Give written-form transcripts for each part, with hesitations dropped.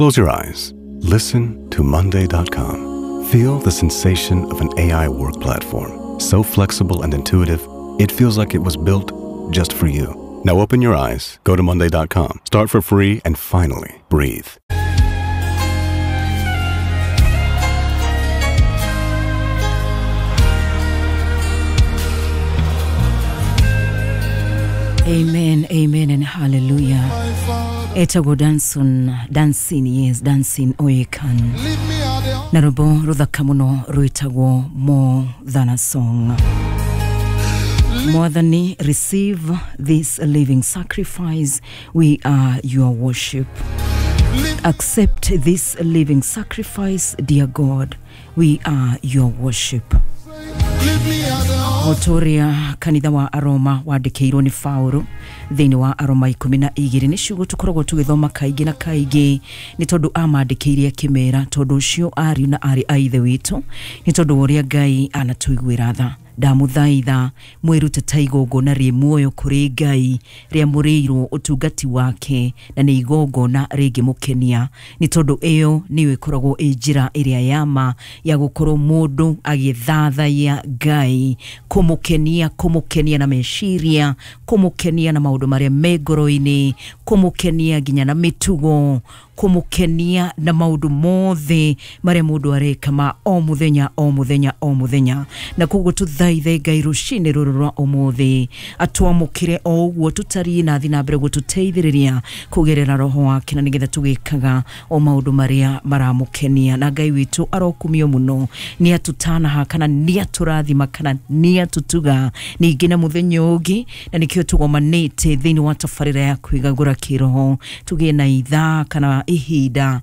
Close your eyes. Listen to Monday.com. Feel the sensation of an AI work platform. So flexible and intuitive, it feels like it was built just for you. Now open your eyes, go to Monday.com, start for free, and finally breathe. Amen, amen and hallelujah. Etagwo Danson, Dancing, yes, Dancing Oyekan. Na rwĩmbo rũthaka mũno rwĩtagwo More Than a Song. Mwathani, receive this living sacrifice. We are your worship. Accept this living sacrifice, dear God. We are your worship. Otoria kanitha wa Aroma wandĩkĩirwo nĩ Paũlũ thĩinĩ wa Aroma 12 nĩ ciugo tũkoragwo tũgĩthoma kaingĩ na kaingĩ nĩ tondũ amandĩkĩire akĩmera tondũ ũcio ariũ na arĩ a ithe witũ nĩ tondũ wa ũrĩa Ngai anatũiguĩra tha. Ndamũthaitha mwĩrute ta igongona rĩ muoyo kũrĩ Ngai rĩamũrĩirwo ũtungati wake na nĩ igongona rĩngĩmũkenia nĩ tondũ ĩyo nĩyo ĩkoragwo ĩ njĩra ĩrĩa ya ma ya gũkorwo mũndũ agĩthathaiya Ngai, kũmũkenia, kũmũkenia na meciria, kũmũkenia na maũndũ marĩa me ngoro-inĩ, kũmũkenia nginya na mĩtugo, kũmũkenia na maũndũ mothe marĩa mũndũ areka ma o mũthenya o mũthenya o mũthenya. Na koguo tũthaithe Ngai rũcinĩ rũrũ rwa ũmũthĩ atwamũkĩre o ũguo tũtariĩ na athiĩ na mbere gũtũteithĩrĩria kũgerera roho wake na nĩgetha tũgĩkaga o maũndũ marĩa maramũkenia. Na Ngai witũ arokumio mũno nĩ atũtanaha kana nĩ atũrathima kana nĩ atũtuga ningĩ na mũthenya ũngĩ, na nĩkĩo tũgomanĩte thĩinĩ wa tabarĩra ya kwĩgagũra kĩroho tũgĩe na ithaa kana ihinda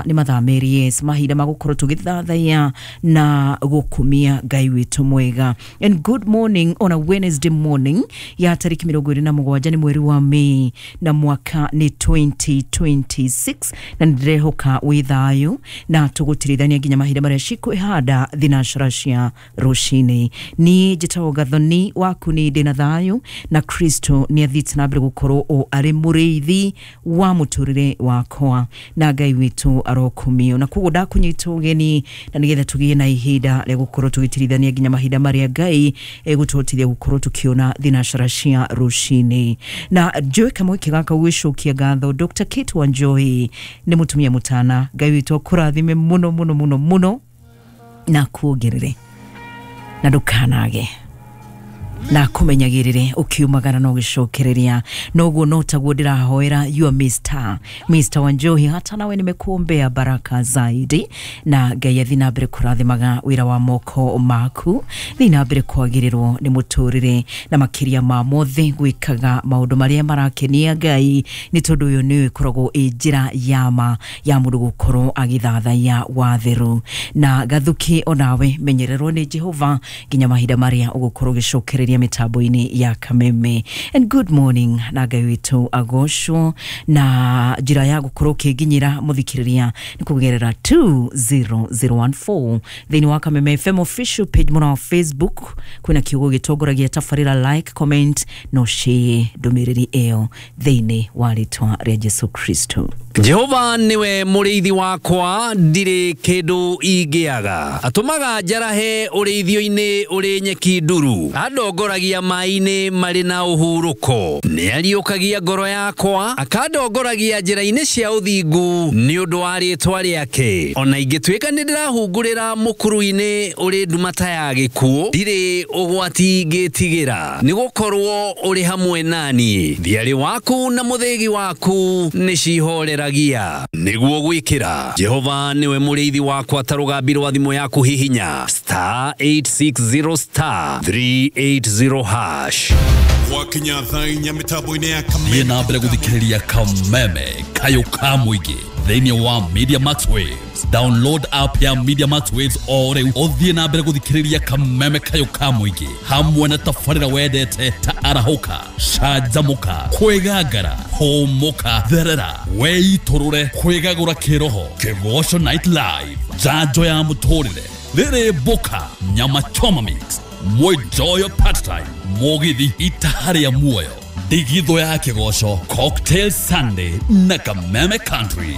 nĩ mathaa merĩ, yes, mahinda ma gũkorwo tũgĩthathaiya na gũkumia Ngai witũ mwega. And good morning on a Wednesday morning ya tariki 27 nĩ mweri wa Mei na mwaka nĩ 2026 na nĩndĩrehoka wĩ thayũ na tũgũtirithania nginya mahinda marĩa cikwĩhanda thinacara cia rũcinĩ. Niĩ njĩtagwo Gathoni waku nĩ ndĩ na thayũ na Kristo nĩ athiĩte na mbere gũkorwo o arĩ mũrĩithi wa mũtũrĩre wakwa na Ngai witũ arokumio. Na koguo ndakũnyita ũgeni na nĩgetha tũgĩe na ihinda rĩa gũkorwo tũgĩtirithania nginya mahinda marĩa Ngai egũtũhotithia gũkorwo tũkĩona thinacara cia rũcinĩ. Na njoe kamweke gaka gwĩcokia ngatho Dr. Kate Wanjohi nĩ mũtumia mũtana. Ngai witũ akũrathime mũno mũno mũno mũno na kuongerere na ndũkanage na kũmenyagĩrĩre ũkiumagara na ũgĩcokereria. Noguo no taguo ndĩrahoera you Mr. Wanjohi, hata nawe nimekuombea baraka zaidi na Ngai athi na mbere kũrathimaga wĩra wa moko maku, thi na mbere kwagĩrĩrwo nĩ mũtũrĩre na makĩria ma mothe gwĩkaga maũndũ marĩa marakenia Ngai nĩ tondũ ũyũ nĩyo ĩkoragwo ĩ njĩra ya ma ya mũndũ gũkorwo agĩthathaiya watheru. Na Gathuki onawe menyererwo nĩ Jehova nginya mahinda marĩa ũgũkorwo ũgĩcokereria mitambo-inĩ ya Kameme. And good morning na Ngai witũ agocwo. Na njĩra ya gũkorwo ũkĩnginyĩra mũthikĩrĩria nĩ kũgerera 20014 thĩinĩ wa Kameme FM official page mũno wa Facebook kwĩna kiugo gĩtongoragia tabarĩra like, comment no share ndũmĩrĩri ĩyo thĩinĩ wa rĩtwa rĩa Jesu Kristo. Jehova niwe mũrĩithi wakwa ndirĩ kĩndũ ingĩaga, atũmaga njarahe ũrĩithio-inĩ ũrĩ nyeki nduru, andongoragia maĩ-inĩ marĩ na ũhurũko, nĩariũkagia ngoro yakwa, akandongoragia njĩra-inĩ cia ũthingu nĩ ũndũ wa rĩtwa rĩake. Ona ingĩtuĩka nĩ ndĩrahungurĩra mũkuru-inĩ ũrĩ nduma ta ya gĩkuũ, ndirĩ ũgwati ingĩtigĩra, nĩgũkorwo ũrĩ hamwe nani. Thiarĩ waku na mũthĩgi waku nĩcihoreragia. Nĩguo gwĩkĩra Jehova niwe mũrĩithi wakwa ta rũgambi rwa thimũ yaku hihinya star 860 star 380 hash. Gwakinya thaa inya mĩtambo-inĩ ya Kameme. Thiĩ na mbere gũthikĩrĩria Kameme kayũ ka mũingĩ thĩinĩ wa Media Max Waves. Download app ya Media Max Waves o rĩu ũthiĩ na mbere gũthikĩrĩria Kameme kayũ ka mũingĩ hamwe na tabarĩra wendete ta arahũka, canjamũka, kwĩgangara, hũmũka, therera, weitũrũre, kwĩgagũra kĩroho, Kĩgoco Night Live, njanjo ya mũtũrĩre, rĩrĩ mboka, nyama choma mix, mwenjoyo part time, mũgithi itaharĩa muoyo, ndigithũ ya kĩgoco, Cocktail Sunday na Kameme Country.